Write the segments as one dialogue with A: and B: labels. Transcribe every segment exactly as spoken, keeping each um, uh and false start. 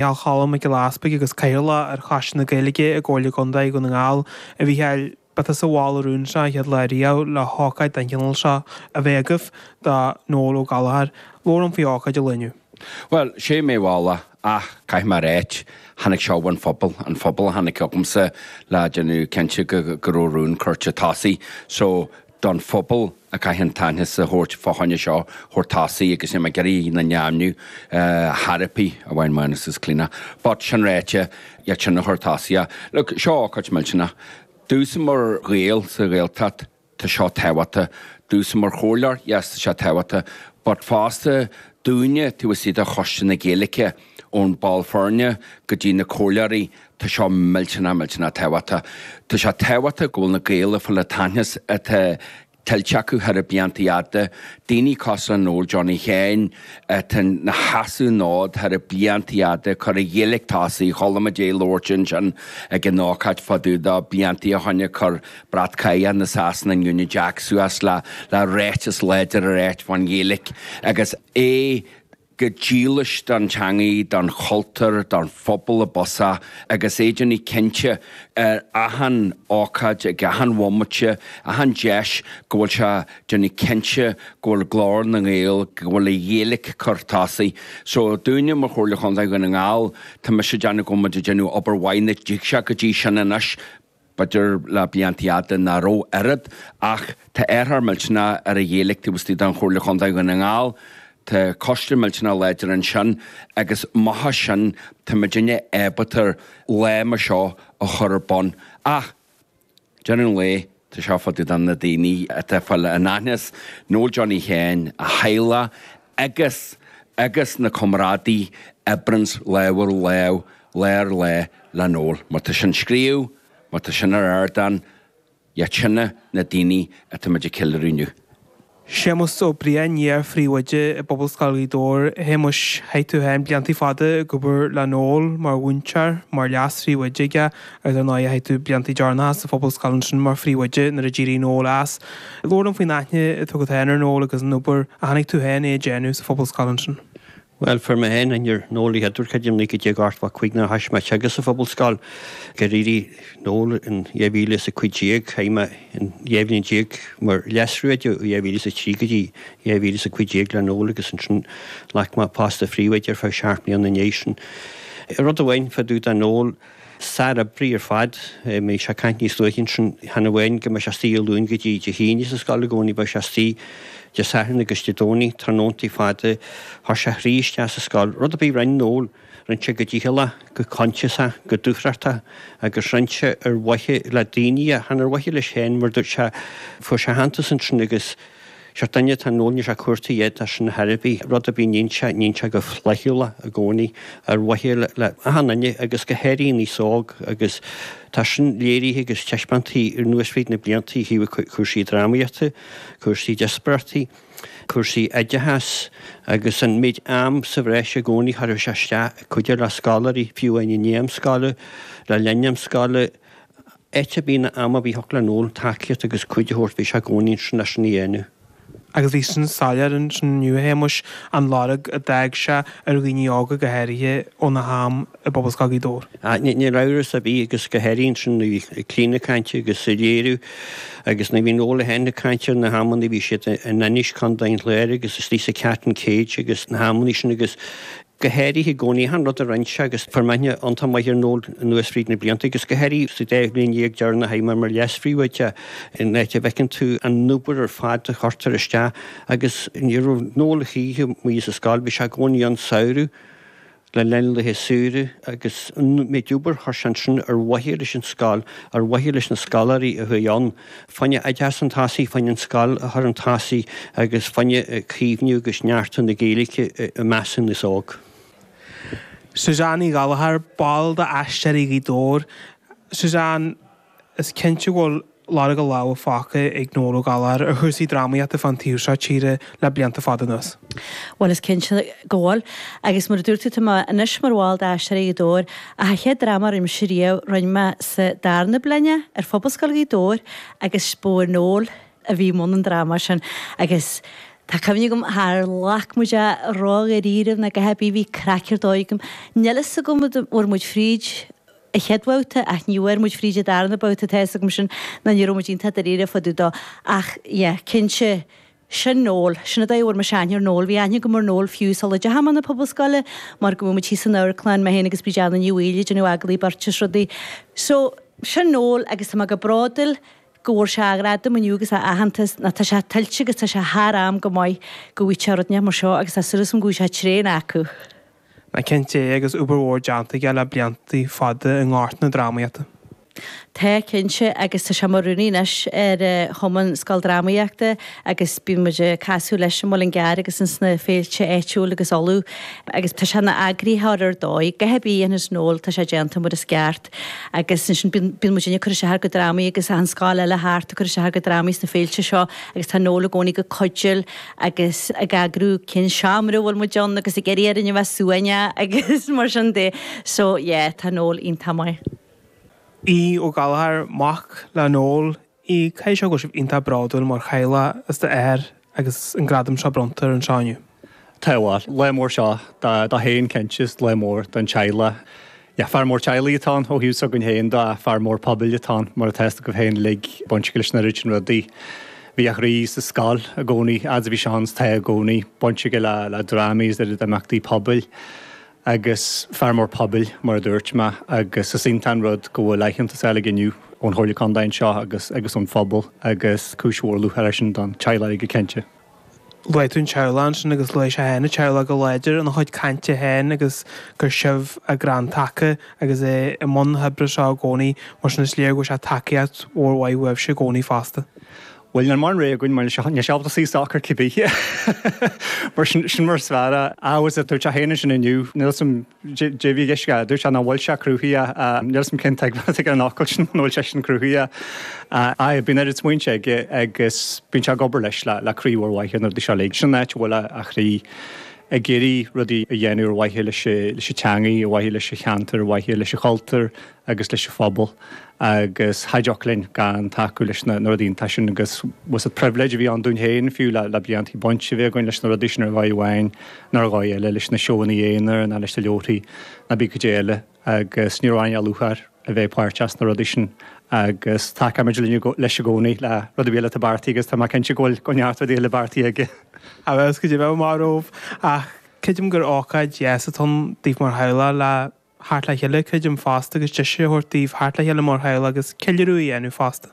A: Micheál Choilm Mac Giolla Easpaig agus Cathaoirleach ar Choiste na Gaeilge i gComhairle Contae Dhún na nGall. A Mhícheáil, ba tusa a mhol an rún seo an chéad lá riamh le hócáid den chineál seo a bheith agaibh do Noel Ó Gallchóir. Labhair liom faoi ócáid an lae inniu.
B: Bhuel, sé mé mholadh ach caithfidh mé a ráit, tháinig seo ón phobal, an phobal a tháinig chugamsa le déanamh cinnte go go raibh rún curtha tosaigh. So, don phobal a caithfidh an t-aitheantas a thabhairt fá choinne seo thabhairt tosaigh agus níl mé ag iarraidh na neamhniú therapy a bhain Mánus is Clíona. But sin ráite, iad sin a chur tosaigh. Look, seo ócáid millteanach. Domhsa mar Ghael sa Ghaeltacht, tá seo tábhachtach. Domhsa mar chomhairleoir, yes, tá sé tábhachtach. But fosta, dúinne, taobh istigh de Choiste na Gaeilge, ón ball foirne go dtí na comhairleoirí, tá seo millteanach, millteanach tábhachtach. Tá sé tábhachtach go bhfuil na Gaeil ag fáil an t-aitheantas atá tuillte acu thar na blianta fhada, daoine cosúil le Noel Johnny Sheáin atá ina sheasamh an fhód thar na blianta fhada, cur an Ghaeilge tosaigh, chuala muid é ag labhairt ansin ag an ócáid fá dtaobh de blianta ó shoin ag cur brat catha na Sasana an Union Jack suas le le ráiteas láidir a ráit fán Ghaeilge agus é go dílis don teangaidh, don chultúr, don phobal i bpusach agus é ag déanamh cinnte ar achan ócáid, ag achan bhomaite, achan deis go bhfuil sé ag déanamh cinnte go bhfuil glór na nGael, go bhfuil an Ghaeilge curtha tosaigh. So dúinne mar Chomhairle Chontae Dhún na nGall, tá mise ag déanamh go bhfuil muid ag déanamh obair mhaith nach dtig sé go dtí sin anois, b'fhéidir le blianta fhada nach raibh oiread, ach tá ardfhear millteanach ar an Ghaeilge taobh istigh den Chomhairle Chontae Dhún na nGall. Tá coiste millteanach láidir ansin agus amach as sin tá muidinne ábalta lá mar seo a chur ar bun. Ach, deireadh an lae, tá seo fá dtaobh de na daoine atá ag fáil an aitheantas, Noel Johnny Sheáin, a theaghlach agus agus na comrádaí a oibríonns lámh ar lámh, lá ar lá le Noel. Má tá sin scríobh, má tá sin ar ardán, iad sin na daoine atá muid ag ceiliúradh inniu.
A: Séamus Ó Briain, iar-phríomhoide i bPobalscoil Ghaoth Dobhair. A Shéamuis, chaith tú féin blianta fada ag obair le Noel mar mhúinteoir, mar leas-phríomhoide aige agus ar ndóigh chaith tú blianta deireanacha sa phobalscoil ansin mar phríomhoide nuair a d'éirigh Noel as. Labhair liom faoin aithne atá agat féin ar Noel agus an obair a chonaic tú féin é ag déanamh sa phobalscoil ansin.
C: Bhuel, fuair mé féin aithne ar Noel an chéad uair, creidim, naoi déag ochtó a cúig nuair a thoisigh mé ag teagasc sa Phobalscoil. Gur éirigh Noel in dhá mhíle is a cúig déag, chaith mé an dhá bhliain déag mar leas-phríomhoide ó dhá mhíle is a trí go dtí dhá mhíle is a cúig déag le Noel agus ansin ghlac mé post a phríomhoide ar feadh seacht mbliana ina dhiaidh sin. Rud amháin fá dtaobh de Noel, Sár-oibrí ar fad. Bhí sé ag caint níos luaithe ansin, chan amháin go mbeadh sé istigh Dé Luain go dtí Dé hAoine sa scoil i gcónaí, bheadh sé istigh Dé Sathairn agus Dé Domhnaigh, tráthnóntaí fada, chuir sé a chroí isteach sa scoil. Rud ar bith a rinne Noel, rinne sé go dícheallach, go coinsiasach, go dúthrachtach agus rinne sé ar mhaithe le daoine é, chan ar mhaithe leis féin mar dúirt sé, fuair sé aitheantas ansin agus, Seort duine atá Noel, níl sé ag cuartú a dhath de sin ar chor ar bith, rud ar bith a níonn sé, níonn sé go flaithiúlach i gcónaí ar mhaithe le achan duine agus go háirithe an aos óg agus tá sin léirithe agus taispeánta anuas fríd na blianta ó thaobh cúrsaí drámaíochta, cúrsaí díospóireachtaí, cúrsaí oideachais agus an méid am sa bhreis i gcónaí a chuireadh sé isteach ag cuidiú le scoláirí, fiú amháin i ndiaidh am scoile, le linn am scoile. Áit ar bith ná am ar bith a thiocfadh le Noel tacaíocht agus cuidiú a thabhairt bhí sé i gcónaí ansin leis sin a dhéanamh.
A: Agus bhí sin soiléir ansin inniu, a Shéamuis, an lorg a d'fhág sé ar dhaoine óga go háirithe óna ham i bPobalscoil Ghaoth Dobhair.
C: Ah, níl amhras ar bith agus go háirithe ansin nuair a bhí Clíona ag caint agus ag léiriú agus nuair a bhí Noel féin ag caint ar na hamanna a bhí siad in Inis, Contae an Chláir agus istigh sa Cat and Cage agus na hamanna sin agus go háirithe i gcónaí, achan rud a rinne sé agus fuair mé aithne iontach maith ar Noel anuas fríd na blianta agus go háirithe sa dá bhliain dhéag deireanach a chaith mé mar leas-phríomhoide in áit a bhfeiceann tú an obair ar fad a chuirtear isteach agus ní raibh Noel choíche amuigh sa scoil, bhí sé i gcónaí ann samhradh, le linn laetha saoire agus an méid obair a chuir sé ansin ar mhaithe leis an scoil, ar mhaithe leis na scoláirí a chuaigh ann. Fá choinne oideachas chun tosaigh, fá choinne an scoil a chur chun tosaigh agus fá choinne caomhnú agus neartú na Gaeilge i measc an aos óg.
A: Suzanne Ní Ghallchóir, ball d'Aisteoirí Ghaoth Dobhair. Suzanne, is cinnte go bhfuil lorg a lámha fágtha ag Noel Ó Gallchóir ar chúrsaí drámaíochta fán taobh seo tíre le blianta fada anuas.
D: Bhuel, is cinnte go bhfuil. Agus mar a dúirt tú, tá mé anois mar bhall d'Aisteoirí Ghaoth Dobhair, ach an chéad dráma a rinne mise riamh, rinne mé sa darna bliain ar Phobalscoil Ghaoth Dobhair agus ba é Noel a bhí i mbun an dráma sin agus Tá cuimhne agam char ghlac muid é ró-dháiríre ná a dhath ar bith, bhí craic ar dóigh agam. Níl fhios agam an bhfuair muid fríd an chéad bhabhta ach ní bhfuair muid fríd an darna babhta, tá fhios agam sin ná ní raibh muid iontach dáiríre fá dtaobh dó. Ach yeah, cinnte, sin Noel, sin an dóigh a bhfuair mise aithne ar Noel, bhí aithne agam ar Noel fiú sula dteachaigh mé chun na Pobalscoile mar go bhfuil muid thíos san amharclann, mé féin agus Bríd Anna Ní Bhaoill ag déanamh agallaimh beirte is rudaí. So, sin Noel agus tá mé go bródúil go bhfuair sé a ghradam inniu agus a aitheantas ná tá sé tuillte agus tá sé thar am go maith go bhfaighidh sé rud inteacht mar seo agus tá súil agam go bhfaighidh sé tréan acu.
A: Ná cinnte é agus obair mhór déanta aige le blianta fada i ngort na drámaíochta.
D: Tá, cinnte, agus tá sé mar rúnaí anois ar Chumann Scoildrámaíochta agus bíonn muid ag casadh leis i Muileann gCearr agus ins na féilte áitiúil agus Uladh agus tá sé ina eagraítheoir ar dóigh. A dhath ar bith a dhéanfas Noel tá sé déanta mar is ceart agus ansin bíonn bíonn muidinne ag cur isteach ár gcuid drámaí agus achan scoil eile thart ag cur isteach ár gcuid drámaí sna féilte seo agus tá Noel i gcónaí go cuidiúil agus ag eagrú cén seomra a bhfuil muid ann agus ag iarraidh orainn a bheith suaimhneach agus mar sin de. So yeah, tá Noel iontach maith.
A: Aodh Ó Gallchóir, mac le Noel. Aodh, caithfidh sé go bhfuil sibh iontach bródúil mar theaghlach as d'athair agus an gradam seo bronnta air anseo inniu.
E: Tá, bhuel, lá mór seo dó féin cinnte is lá mór don teaghlach. Yeah, fear mór teaghlaigh atá ann ó thaobh s'againn féin de, fear mór pobail atá ann, mar atá fhios agaibh féin uilig, baint aige leis an oiread sin rudaí. Bhí a chroí sa scoil i gcónaí, fhad is a bhí sé ann is tá i gcónaí, baint aige le le drámaí is oiread imeachtaí pobail. Agus fear mór pobail, mar a dúirt mé, agus is iontach an rud go bhfuil aitheantas á fháil aige inniu ón Chomhairle Contae anseo agus agus ón phobal agus cúis mhór lúcháir é sin don teaghlach go cinnte.
A: Luaigh tú an teaghlach ansin agus luaigh sé féin an teaghlach go láidir ina chuid cainte féin agus gur sibh a gcrann taca agus é i mbun na hoibre seo i gcónaí, mar sin is léir go bhfuil sé tacaíocht mhór mhaith uaibhse i gcónaí fosta.
E: Bhuel, níl mórán rogha againn mar níl sé ábalta suí socair cibé. Mar sin, sin mar is fearr é. Agus dúirt sé féin ansin inniu, níl 'fhios a'm dé bhí i gceist aige, dúirt sé nach bhfuil sé cruthaithe, níl 'fhios a'm cén tuigbheáil atá aige ar an fhocal sin, an bhfuil seisean cruthaithe. Aye, bíonn oiread smaointe aige agus bíonn sé ag obair leis le, le croí mhór mhaith ar na rudaí seo uilig. Sin an áit a bhfuil a chroí, ag iarraidh rudaí a dhéanamh ar mhaithe leis leis an teangaidh, ar mhaithe leis an cheantar, ar mhaithe leis an chultúr agus leis an phobal agus cha dtiocfadh linn gan tacú leis na rudaí iontacha sin agus was it privilege a bhí ann dúinn féin fiú le le bliantaí baint a bheith againn leis na rudaí sin ar dhóigh amháin nó ar dhóigh eile, leis na seóanna aonair nó leis na leabharthaí nó pé cad é eile agus ní raibh aon lúcháir a bheith páirteach sna rudaí sin agus tacóimid linn leis i gcónaí le rud ar bith eile atá beartaithe agus tá mé cinnte go bhfuil go neart rudaí eile beartaithe aige.
A: A bheas go deimhin maith romhaibh ach creidim gur ócáid dheas atá ann daoibh mar theaghlach le theacht le chéile, creidim fosta agus deis a thabhairt daoibh theacht le chéile mar theaghlach agus ceiliúradh a dhéanamh fosta.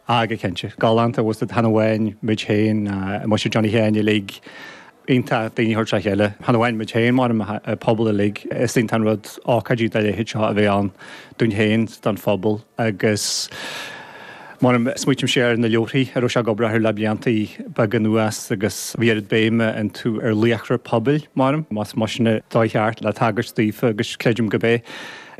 E: Ah go cinnte. Galánta, bhfuil 'fhios a'd, chan amháin muid féin, muintir Johnny Sheáin uilig, iontach daoine a thabhairt le chéile. Chan amháin muid féin, mar an pobal uilig. Is iontach an rud ócáidí dá leithéid seo a bheith ann dúinn féin, don phobal agus mar smaoitímse ar na leabharthaí a raibh sé ag obair orthu le bliantaí beaga anuas agus bhí oiread béime iontu ar laochra pobail, mar más sin an dóigh cheart le tagairt daofa agus creidim gurb é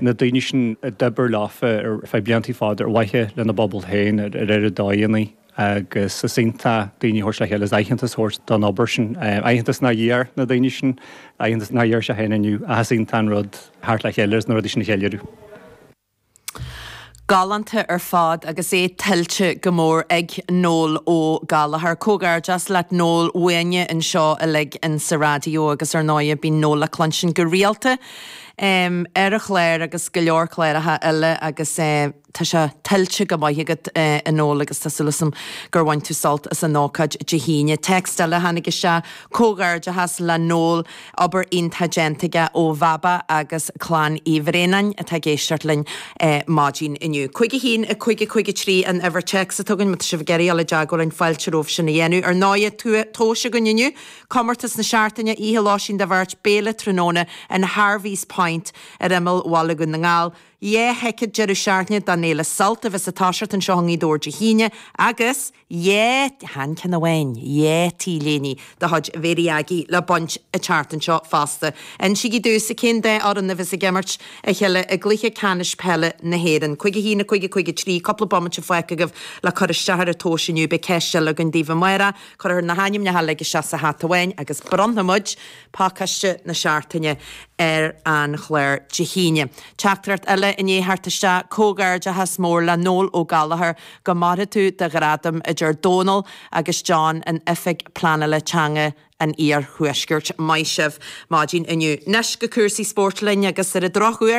E: na daoine sin a d'oibir leofa ar feadh bliantaí fada ar mhaithe lena bpobal féin ar oiread dóigheanna agus is iontach daoine a thabhairt le chéile is aitheantas a thabhairt don obair sin, aitheantas nach d'iarr na daoine sin, aitheantas nach d'iarr sé féin inniu ach is iontach an rud theacht le chéile agus na rudaí sin a cheiliúradh.
F: Galánta ar fad agus é tuillte go mór ag Noel Ó Gallchóir. Comhghairdeas leat Noel uainne anseo uilig in sa raidió agus ar ndóighe bíonn Noel le cluinstin go rialta ar an chlár agus go leor cláracha eile agus tá sé tuillte go maith agat a Noel agus tá súil agam gur bhain tú sult as an ócáid Dé hAoine. Téacs eile a tháinig isteach, Comhghairdeachas le Noel, obair iontach déanta aige ó Bhaba agus Clann Uí Bhraonáin atá ag éisteacht linn maidin inniu. Cúig a haon, a cúig a cúig a trí an uimhir téacs atá againn má tá sibh ag iarraidh dul i dteagmháil linn fáilte romhaibh sin a dhéanamh. Ar ndóighe, tomhais againn inniu, comórtas na seachtaine, oíche lóistín do bheirt, béile tráthnóna in Harvey's Point ar imeall Bhaile Dhún na nGall. Dhá thicéad deireadh seachtaine don Fhéile Sult a bheas ag toiseacht anseo i nGaoth Dobhair Dé hAoine agus dhá, chan ceann amháin, dhá T-léine de chuid Mhéirí Aggie le baint an tseachtain seo fosta. Insígí domhsa cén dá fhoireann a bheas ag imirt a chéile i gcluiche ceannais peile na hÉireann. Cúig a haon, a cúig, a cúig a trí, cúpla bomaite fágtha agaibh le cur isteach ar an tomhas inniu. Beidh ceist eile againn daoibh amárach. Cuirfear na hainmneacha uilig isteach sa hata amháin agus bronnfaidh muid pacáiste na seachtaine ar an chlár Dé hAoine. Teachtaireacht eile. bheith i ndiaidh theacht isteach. Comhghairdeachas mór le Noel Ó Gallchóir, go maire tú do ghradam, a deir Dónal agus John in Oifig Pleanála Teanga an Iarthuaiscirt. Maith sibh maidin inniu. Anois go cúrsaí spóirt linn agus ar an drochuair,